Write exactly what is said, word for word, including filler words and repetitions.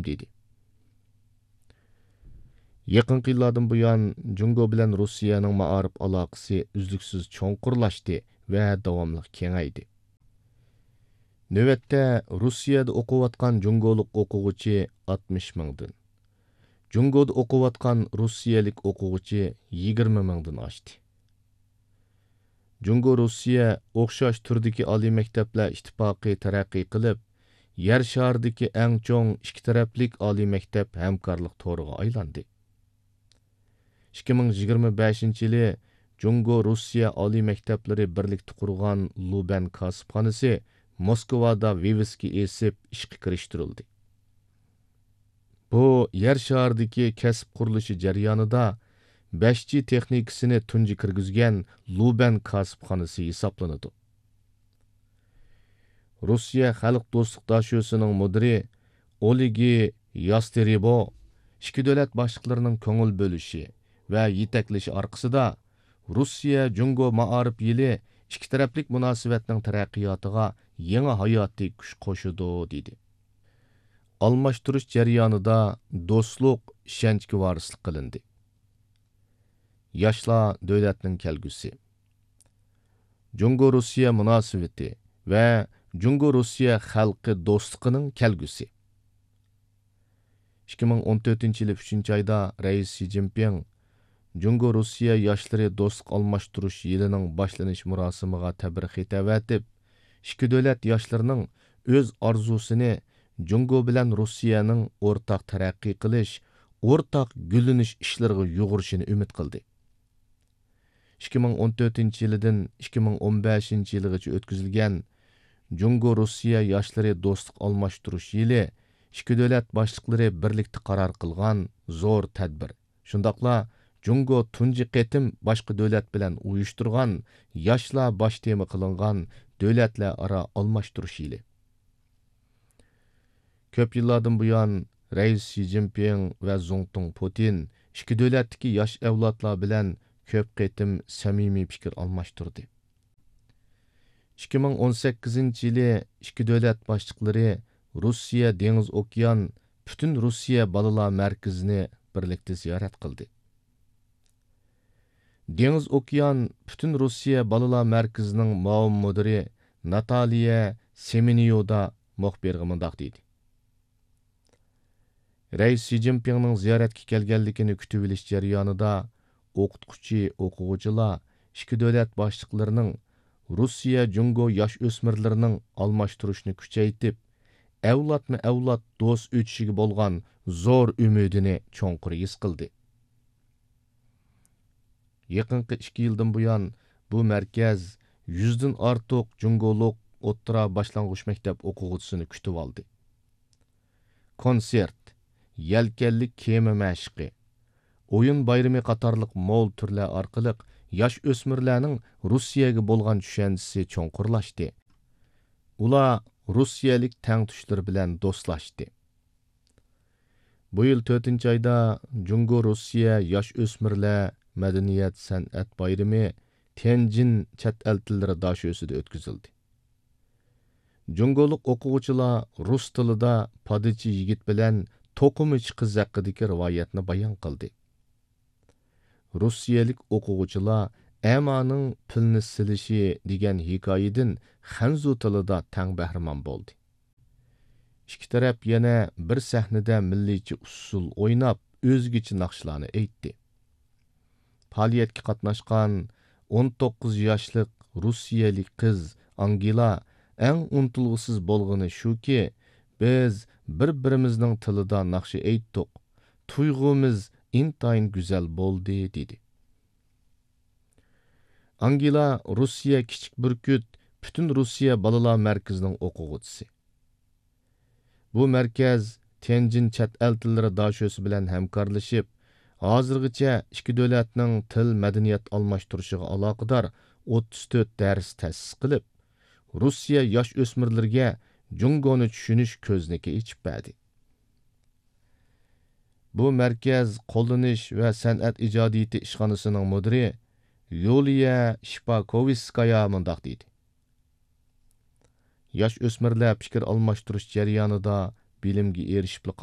دېدى. يېقىنقى يىللاردىن بۇيان، جۇڭگو بىلەن روسىيەنىڭ مائارىپ ئالاقىسى ئۈزلۈكسىز چوڭقۇرلاشتى ۋە داۋاملىق كېڭەيدى. نۆۋەتتە روسىيەدە ئوقۇۋاتقان جۇڭگولۇق ئوقۇغۇچى ئاتمىش مىڭدىن، جۇڭگودا ئوقۇۋاتقان روسىيەلىك ئوقۇغۇچى يىگىرمە مىڭدىن ئاشتى. جۇڭگو روسىيە ئوخشاش تۈردىكى ئالىي مەكتەپلەر ئىتتىپاقى تەرەققىي قىلىپ، يەر شارىدىكى ئەڭ چوڭ ئىككى تەرەپلىك ئالىي مەكتەپ ھەمكارلىق تورىغا ئايلاندى. ئىككى مىڭ يىگىرمە بەشىنچى يىلى جۇڭگو روسىيە ئالىي مەكتەپلىرى بىرلىكتە قۇرغان لۇبەن كاسىپخانىسى موسكۋادا ۋىۋىسكا ئېسىپ ئىشقا كىرىشتۈرۈلدى. بۇ يەر شارىدىكى كەسىپ قۇرۇلۇشى جەريانىدا بەش جى تېخنىكىسىنى تۇنجى كىرگۈزگەن لۇبەن كاسىپخانىسى ھېسابلىنىدۇ. روسىيە خەلق دوستلۇق داشۆسىنىڭ مۇدىرى ئولېگى ياستېرېبو ئىككى دۆلەت باشلىقلىرىنىڭ كۆڭۈل بۆلۈشى ۋە يېتەكلىشى ئارقىسىدا، روسىيە جۇڭگو مائارىپ يىلى ئىككى تەرەپلىك مۇناسىۋەتنىڭ تەرەققىياتىغا يېڭى ھاياتىي كۈچ قوشىدۇ، دېدى. ئالماشتۇرۇش جەريانىدا دوستلۇق، ئىشەنچكە ۋارىسلىق قىلىندى. ياشلار دۆلەتنىڭ كەلگۈسى. جۇڭگو روسىيە مۇناسىۋىتى ۋە جۇڭگو روسىيە خەلقى دوستلۇقىنىڭ كەلگۈسى. ئىككى مىڭ ئون تۆتىنچى يىلى ئۈچىنچى ئايدا رەئىس شى جىنپىڭ جۇڭگو روسىيە ياشلىرى دوستلۇق ئالماشتۇرۇش يىلىنىڭ باشلىنىش مۇراسىمىغا تەبرىك خېتى ئەۋەتىپ، ئىككى دۆلەت ياشلىرىنىڭ ئۆز ئارزۇسىنى جۇڭگو بىلەن روسىيەنىڭ ئورتاق تەرەققىي قىلىش، ئورتاق گۈللىنىش ئىشلىرىغا يۇغۇرۇشىنى ئۈمىد قىلدى. ئىككى مىڭ ئون تۆتىنچى يىلىدىن ئىككى مىڭ ئون بەشىنچى يىلىغىچە ئۆتكۈزۈلگەن جۇڭگو روسىيە ياشلىرى دوستلۇق ئالماشتۇرۇش يىلى ئىككى دۆلەت باشلىقلىرى بىرلىكتە قارار قىلغان زور تەدبىر، شۇنداقلا جۇڭگو تۇنجى قېتىم باشقا دۆلەت بىلەن ئۇيۇشتۇرغان ياشلار باش تېما قىلىنغان دۆلەتلەر ئارا ئالماشتۇرۇش يىلى. كۆپ يىللاردىن بۇيان، رەئىس شى جىنپىڭ ۋە زۇڭتۇڭ پۇتىن ئىككى دۆلەتتىكى ياش ئەۋلادلار بىلەن كۆپ قېتىم سەمىمىي پىكىر ئالماشتۇردى. ئىككى مىڭ ئون سەككىزىنچى يىلى ئىككى دۆلەت باشلىقلىرى روسىيە دېڭىز ئوكيان پۈتۈن روسىيە بالىلار مەركىزىنى بىرلىكتە زىيارەت قىلدى. دېڭىز ئوكيان پۈتۈن روسىيە بالىلار مەركىزىنىڭ مۇئاۋىن مۇدىرى ناتالىيە سېمېنيودا مۇخبىرغا مۇنداق دېدى: رەئىس شى جىنپىڭنىڭ زىيارەتكە كەلگەنلىكىنى كۈتۈۋېلىش جەريانىدا، ئوقۇتقۇچى، ئوقۇغۇچىلار ئىككى دۆلەت باشلىقلىرىنىڭ روسىيە جۇڭگو ياش ئۆسمۈرلىرىنىڭ ئالماشتۇرۇشنى كۈچەيتىپ، ئەۋلادمۇ ئەۋلاد دوست ئۆتۈشىگە بولغان زور ئۈمىدىنى چوڭقۇر ھېس قىلدى. يېقىنقى ئىككى يىلدىن بۇيان، بۇ مەركەز يۈزدىن ئارتۇق جۇڭگولۇق ئوتتۇرا باشلانغۇچ مەكتەپ ئوقۇغۇچىسىنى كۈتۈۋالدى. كونسېرت، يەلكەنلىك كېمە مەشىقى، ئويۇن بايرىمى قاتارلىق مول تۈرلەر ئارقىلىق ياش ئۆسمۈرلەرنىڭ روسىيەگە بولغان چۈشەنچىسى چوڭقۇرلاشتى. ئۇلار روسىيەلىك تەڭتۇشلىرى بىلەن دوستلاشتى. بۇ يىل تۆتىنچى ئايدا جۇڭگو روسىيە ياش ئۆسمۈرلەر مەدەنىيەت سەنئەت بايرىمى تيەنجىن چەت ئەل تىللىرى داشۆسىدە ئۆتكۈزۈلدى. جۇڭگولۇق ئوقۇغۇچىلار رۇس تىلىدا پادىچى يىگىت بىلەن توقۇمىچى قىز ھەققىدىكى رىۋايەتنى بايان قىلدى. روسىيەلىك ئوقۇغۇچىلار ئەمانىڭ پىلنى سېلىشى دېگەن ھېكايىدىن خەنزۇ تىلىدا تەڭ بەھرىمەن بولدى. ئىككى تەرەپ يەنە بىر سەھنىدە مىللىيچە ئۇسسۇل ئويناپ، ئۆزگىچە ناخشىلارنى ئېيتتى. پائالىيەتكە قاتناشقان ئون توققۇز ياشلىق روسىيەلىك قىز ئانگېلا ئەڭ ئۇنتۇلغۇسىز بولغىنى شۇكى، بىز بىر-بىرىمىزنىڭ تىلىدا ناخشا ئېيتتۇق، تۇيغۇمىز ئىنتايىن گۈزەل بولدى، دېدى. ئانگېلا روسىيە كىچىك بۈركۈت پۈتۈن روسىيە بالىلار مەركىزىنىڭ ئوقۇغۇچىسى. بۇ مەركەز تيەنجىن چەت ئەل تىللىرى داشۆسى بىلەن ھەمكارلىشىپ، ھازىرغىچە ئىككى دۆلەتنىڭ تىل، مەدەنىيەت ئالماشتۇرۇشىغا ئالاقىدار ئوتتۇز تۆت دەرس تەسىس قىلىپ، روسىيە ياش ئۆسمۈرلىرىگە جۇڭگونى چۈشىنىش كۆزنىكى ئېچىپ بەردى. بۇ مەركەز قوللىنىش ۋە سەنئەت ئىجادىيىتى ئىشخانىسىنىڭ مۇدىرى يۇلىيە شىپاكوۋىسكايا مۇنداق دېدى: ياش ئۆسمۈرلەر پىكىر ئالماشتۇرۇش جەريانىدا بىلىمگە ئېرىشىپلا